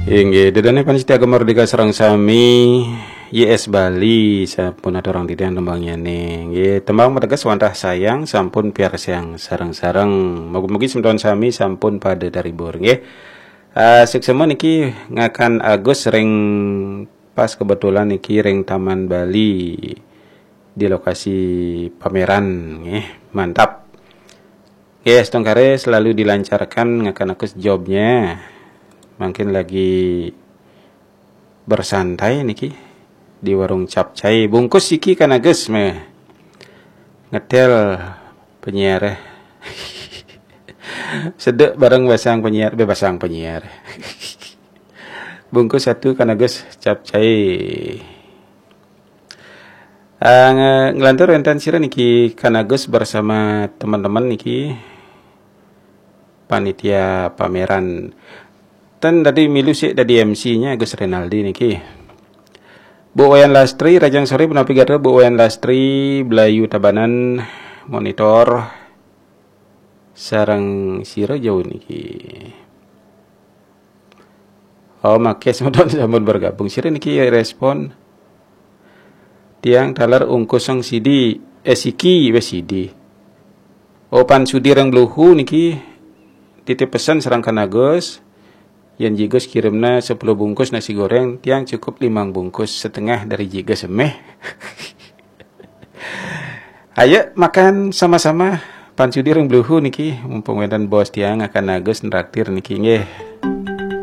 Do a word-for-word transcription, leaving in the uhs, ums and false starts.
Inggih, ida dané pamiarsa Gema Merdeka sareng sami, Y S Bali sampun aturang titiang tembangnyané. Inggih, tembang mateges wantah sayang sampun piarsayang sareng-sareng. Mugi-mugi semeton sami sampun pada terhibur, nggih. Ah, suksma niki ngakan Agus ring pas kebetulan niki ring Taman Bali di lokasi pameran, nggih. Mantap. Nggih, astungkara selalu dilancarkan ngakan Agus jobnya. Mungkin lagi bersantai niki di warung capcay. Bungkus iki kan Agus meh. Ngetel penyiar. Sedek bareng basang penyiar, be basang penyiar. Bungkus satu kan Agus capcay. Ah, nge- nglantur wénten sira niki kan Agus bersama teman-teman niki panitia pameran. Ten dadi milu sik dadi M C-nya Agus Renaldi niki. Bu Wayan Lastri, Rajang Sore, punapi gatra Bu Wayan Lastri, Blayu Tabanan, monitor, sareng sira jauh niki. Oh, makasih semeton sampun bergabung. Sira niki respon. Tiang taler ungkus sang sidi, eh, siki, wes sidi. Oh, pan sudi ring Bluhu niki titip pesan sareng kan Agus. Yen Jigus kirimna sepuluh bungkus nasi goreng, tiang cukup limang bungkus setengah dari Jigus emeh. Ayo makan sama-sama. Pan sudi ring Bluhu niki, mumpung wénten bos tiang akan Agus nraktir niki nggih.